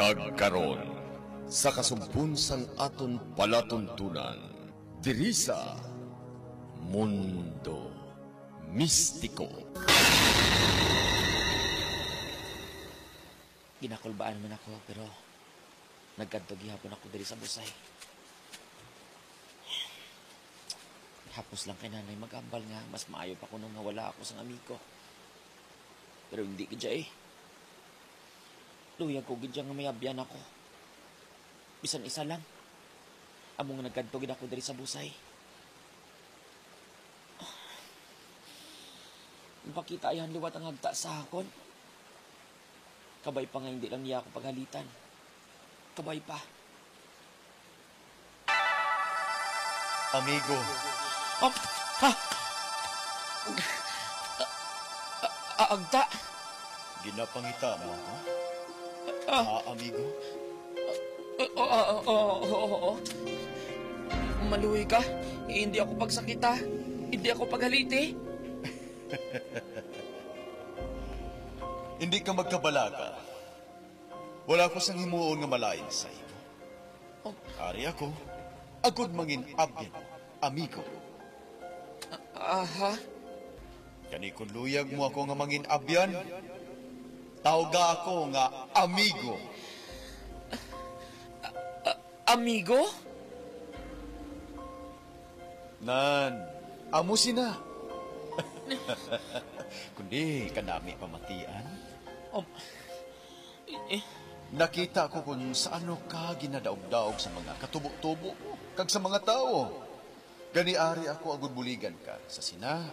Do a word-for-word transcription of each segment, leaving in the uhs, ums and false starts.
Agkaron, sa kasugpon sang aton palatuntunan, diri sa Mundo Mistiko. Ginakulbaan man ako, pero nagkadto gihapon ako diri sa Busay. Hapos lang kay nanay mag-ambal nga mas maayo pa kuno nga wala ako sang amigo. Pero hindi gid siya eh. Luyag ko gid siya nga may abyan ako. Bisan isa lang. Amo nga nagkadto gid ako diri sa Busay. Nagpakita yan liwat ang hagta sa akon. Kabay pa nga hindi lang niya ako paghalitan. Kabay pa. Amigo. Ah, ha? Ah, ah, agta. Ginapangita mo ako? Ah. Ah, amigo? Ah, ah, ah, ah, oo, oo. Maluoy ka. Hindi ako pagsakita. Hindi ako paghaliti. Hindi ka magkabalaka. Wala ko sang himuon nga malain sa imo. Oh. Ari ako, agod mangin abyan, amigo. A-, aha? Gani, kung luyag mo ako nga mangin abyan, tawga ako nga amigo. A-, a-, amigo? Nan, amo sina. Kundi kanami pamatian. Um, eh, eh. Nakita ko kung sa ano ka ginadaog-daog sa mga katubo-tubo kag sa mga tawo. Gani, ari ako agud buligan ka sa sina.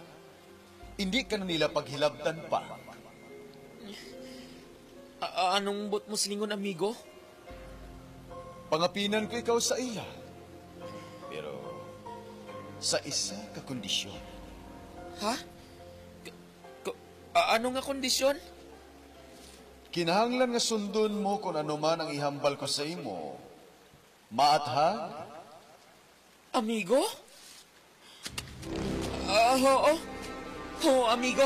Hindi ka na nila paghilabtan pa. A-, a-, anong but mo silingon, amigo? Pangapinan ko ikaw sa ila. Pero sa isa ka kondisyon. Ha? K-, k-, a-, ano nga kondisyon? Kinahanglan nga sundon mo kung ano man ang ihambal ko sa imo. Maathag? Amigo? Ah, oo. Oo, amigo.